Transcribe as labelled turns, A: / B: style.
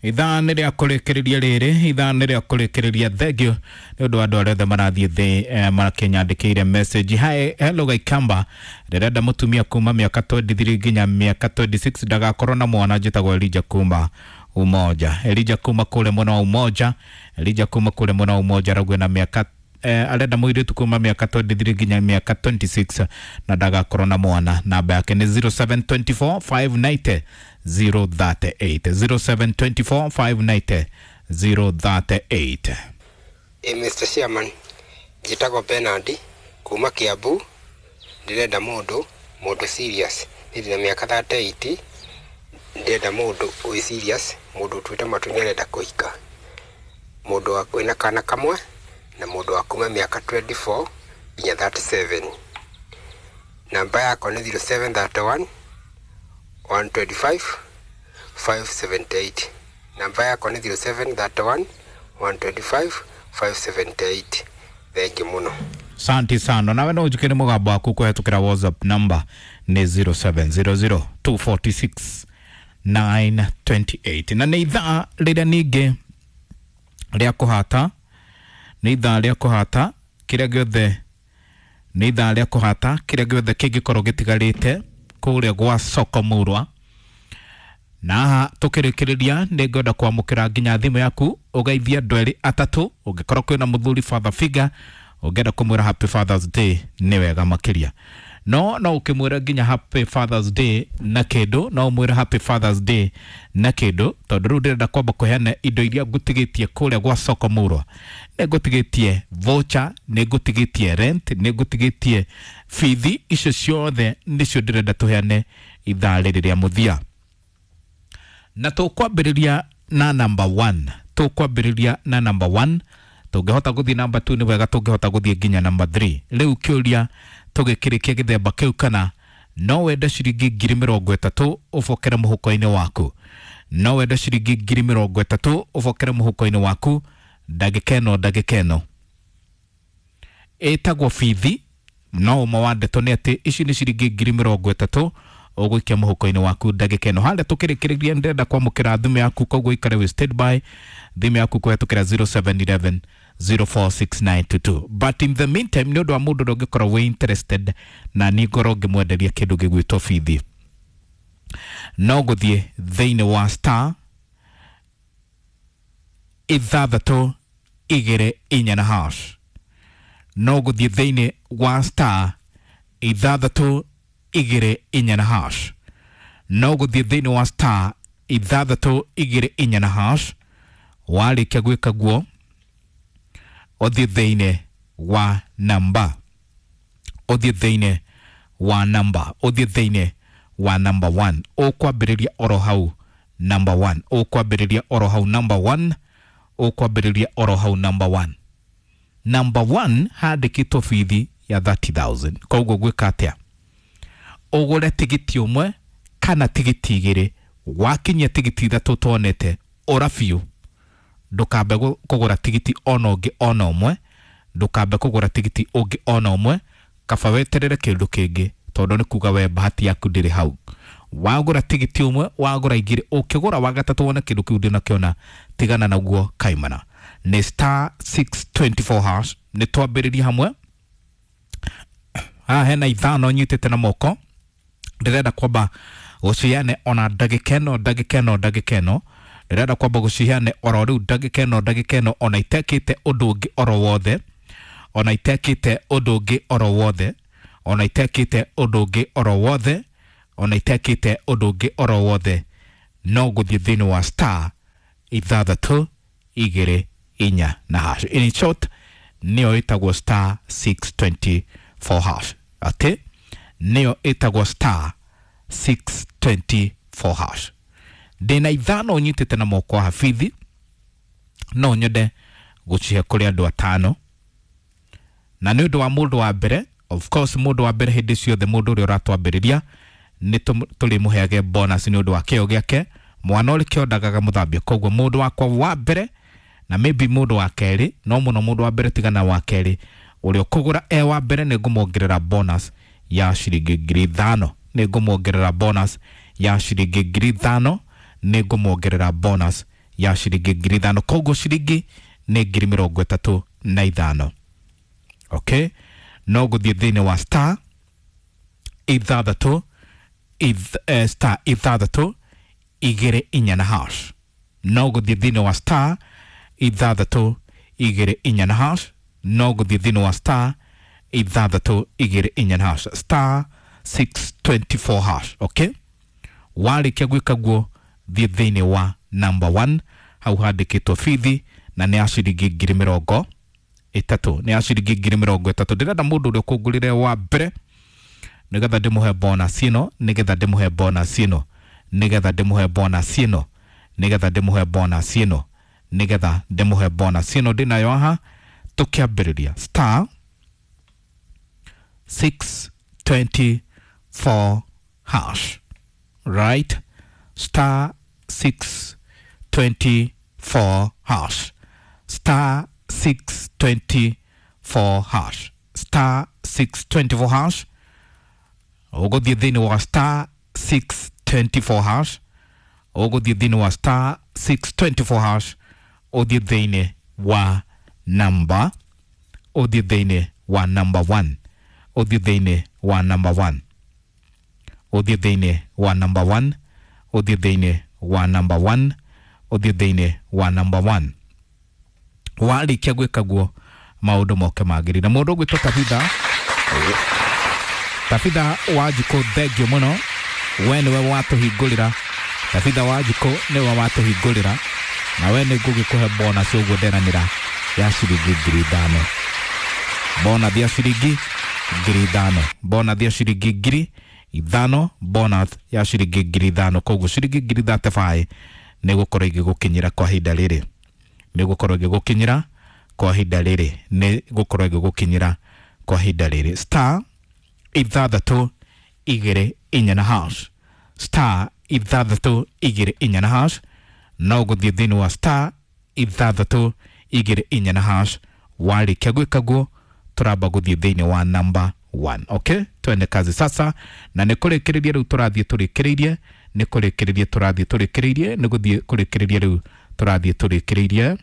A: Ithaa nĩ rĩa kũrĩkĩrĩria rĩrĩ, ithaa nĩ rĩa kũrĩkĩrĩria. Thank you nĩ ũndũ wa andũ arĩa othe marathiĩ thĩ makĩnyandĩkĩire message. Hi, hello Gaikamba, ndĩrenda mũtumia kuma mĩaka 23 nginya mĩaka 26, ndagakorwo na mwana. Njĩtagwo Elija kuma Umoja. Elija kuma kũrĩa mwena wa Umoja, Elija kuma kũrĩa mwena wa Umoja arauga na mĩaka arenda mũirĩtu kuma mĩaka 23 nginya mĩaka 26 na ndagakorwo na mwana. Namba yake nĩ 0724 590 038, 0724 590 038.
B: Ĩ Mr. Chairman, njĩtagwo Bernard kuma Kiambu, ndĩrenda mũndũ serious. Niĩ ndĩna mĩaka 38, ndĩrenda mũndũ wĩ serious, mũndũ ũtuĩte matua nĩ arenda kũhika, mũndũ wĩna kana kamwe na mũndũ wa kuma mĩaka 24 nginya 37. Namba yakwa nĩ 0731 125 578. Namba yakwa nĩ 0731 125 578. Thengiũ mũno.
A: Asante sana. Nawe no ũnjĩkĩre mũgambo waku kũhetũkĩra WhatsApp, number nĩ 0700 246 928. Na nĩ ithaa rĩrĩa ningĩ rĩa kũhata, nĩ ithaa rĩa kũhata kĩrĩa gĩothe, nĩ ithaa rĩa kũhata kĩrĩa gĩothe kĩngĩkorwo gĩtigarĩte kũrĩa gwa soko mũrwa. Na haha tũkĩrĩkĩrĩria, nĩ ngwenda kwamũkĩra nginya thimũ yaku ũgeithie andũ erĩ atatũ. Ũngĩkorwo kwĩna mũthuri father figure ũngĩenda kũmwĩra happy Father's Day, nĩ wega makĩria. No ũkĩmwĩra nginya happy Father's Day na kĩndũ, no ũmwĩre happy Father's Day na kĩndũ, tondũ rĩu ndĩrenda kwamba kũheana indo iria ngũtigĩtie kũrĩa gwa soko mũrwa. Nĩ ngũtigĩtie voucher, nĩ ngũtigĩtie rent, nĩ ngũtigĩtie bithi. Icio ciothe nĩcio ndĩrenda tũheane ithaa rĩrĩ rĩa mũthia. Na tũkwambĩrĩria na number 1, tũkwambĩrĩria na number 1. Tũngĩhota gũthiĩ number 2 nĩ wega, tũngĩhota gũthiĩ nginya number 3. Rĩu kĩũria tũgĩkĩrĩkia gĩthemba kĩu, kana no wende ciringi 30,000 ũbokere mũhuko-inĩ waku? No wende ciringi 30,000 ũbokere mũhuko-inĩ waku ndagĩka ĩno? Ndagĩka ĩno ĩtagwo bithi, no ũmwe wa ndeto nĩ atĩ ici nĩ ciringi 30,000 ũgũikia mũhuko-inĩ waku ndagĩka ĩno. Harĩa tũkĩrĩkĩrĩria, ndĩrenda kwamũkĩra thimũ yaku, koguo ikare wĩ standby thimũ yaku kũhetũkĩra 0711 046922. But in the meantime, nĩ ũndũ wa mũndũ ũrĩa ũngĩkorwo wĩ interested na niĩ ngorwo ngĩmwenderia kĩndũ gĩgwĩtwo bithi, no gũthiĩ thĩinĩ wa star 624 na hash. No gũthiĩ thĩinĩ wa star 624 na hash. No gũthiĩ thĩinĩ wa star 624 na hash. Warĩkia gwĩka guo, ũthiĩ thĩinĩ wa namba, ũthiĩ thĩinĩ wa namba, ũthiĩ thĩinĩ wa number 1. Ũkwambĩrĩria oro hau number 1, ũkwambĩrĩria oro hau number 1, ũkwambĩrĩria oro hau number 1. Number 1 handĩkĩtwo bithi ya 30,000. Koguo gwĩka atĩa? Ũgũre tigiti ũmwe kana tigiti igĩrĩ. Wakinyia tigiti ithatũ tuonete, ũra biũ, ndũkambe kũgũra tigiti ona ũngĩ ona ũmwe, ndũkambe kũgũra tigiti ũngĩ ona ũmwe. Kaba weterere kĩndũ kĩngĩ, tondũ nĩ kuga we bahati yaku ndĩrĩ hau. Wagũra tigiti ũmwe, wagũra igĩrĩ, ũkĩgũra wa gatatũ wone kĩndũ kĩu ndũnakĩona, tigana naguo kaimana. Nĩ star 624 hash. Nĩ twambĩrĩria hamwe. Haha hena ithano nyitĩte na moko, ndĩrenda kwamba gũciheane ona ndagĩka ĩno, ndagĩka ĩno, ndagĩka ĩno. Ndĩrenda kwamba gũciheane oro rĩu, ndagĩka ĩno, ndagĩka ĩno, ona itekĩte ũndũ ũngĩ oro wothe, ona itekĩte ũndũ ũngĩ oro wothe, ona itekĩte ũndũ ũngĩ oro wothe, ona itekĩte ũndũ ũngĩ oro wothe. No gũthiĩ thĩinĩ wa star 624 na hash. In short, nĩyo ĩtagwo star 624 hash, atĩ nĩyo ĩtagwo star 624 hash. Ndĩna ithano nyitĩte na moko haha bithi, no nyende gũcihe kũrĩ andũ atano. Na nĩ ũndũ wa mũndũ wa mbere, of course mũndũ wa mbere hĩndĩ ciothe, mũndũ ũrĩa ũratwambĩrĩria, nĩ tũrĩmũheage bonus nĩ ũndũ wa kĩo gĩake. Mwana ũrĩ kĩo ndagaga mũthambio. Koguo mũndũ wakwa wa mbere na maybe mũndũ wa kerĩ, no mũno mũndũ wa mbere, tigana wa kerĩ, ũrĩa ũkũgũra e wa mbere, nĩ ngũmuongerera bonus ya ciringi 5,000, nĩ ngũmuongerera bonus ya ciringi 5,000, nĩ ngũmuongerera bonus Ya ciringi 5,000. Koguo ciringi nĩ 35,000. Okay, no gũthiĩ thĩinĩ wa star ithathatũ star ithathatũ igĩrĩ inya na hash. No gũthiĩ thĩinĩ wa star ithathatũ igĩrĩ inya na hash. No gũthiĩ thĩinĩ wa star ithathatũ igĩrĩ inya na hash, star 624 hash. Okay, warĩkia gwĩka guo, thiĩ thĩinĩ wa number 1, hau handĩkĩtwo bithi, na nĩ ya ciringi 30,000, nĩ ya ciringi 30,000. Ndĩrenda mũndũ ũrĩa ũkũngũrĩre wa mbere, nĩgetha ndĩmũhe bonus ĩno, nĩgetha ndĩmũhe bonus ĩno, nĩgetha ndĩmũhe bonus ĩno, nĩgetha ndĩmũhe bonus ĩno, nĩgetha ndĩmũhe bonus ĩno ndĩnayo haha. Tũkĩambĩrĩria star 624 hash, right? Star 624 hash, star 624 hash, star 624 hash. Ũgũthiĩ thĩinĩ wa star 624 hash, ũgũthiĩ thĩinĩ wa star 624 hash, ũthiĩ thĩinĩ wa number, ũthiĩ thĩinĩ wa number 1, ũthiĩ thĩinĩ wa number 1, ũthiĩ thĩinĩ wa number 1, ũthiĩ thĩinĩ wa number 1, ũthiĩ thĩinĩ wa number 1. Warĩkia gwĩka guo, maũndũ moke magĩrĩire. Mũndũ ũgwĩtwo Tabitha, Tabitha Wanjikũ, thengio mũno, we nĩwe watũhingũrĩra. Tabitha Wanjikũ nĩwe watũhingũrĩra, na we nĩ ngũgĩkũhe bonus ũguo nderanĩra ya ciringi 5,000, bonus ya ciringi 5,000, bonus ya ciringi 5,000, bonus ya ciringi 5,000. Koguo ciringi 35,000 nĩ gũkorwo igĩgũkinyĩra kwa ihinda rĩrĩ, nĩ gũkorwo igĩgũkinyĩra kwa ihinda rĩrĩ, nĩ gũkorwo igĩgũkinyĩra kwa ihinda rĩrĩ. Star ithathatũ igĩrĩ inya na hash, star ithathatũ igĩrĩ inya na hash. No gũthiĩ thĩinĩ wa star ithathatũ igĩrĩ inya na hash. Warĩkia gwĩka guo, tũramba gũthiĩ thĩinĩ wa number 1. Okay, twende kazi sasa, na nĩ kũrĩkĩrĩria rĩu tũrathiĩ tũrĩkĩrĩirie, nĩ kũrĩkĩrĩria tũrathiĩ tũrĩkĩrĩirie, nĩ gũthiĩ kũrĩkĩrĩria rĩu tũrathiĩ tũrĩkĩrĩirie.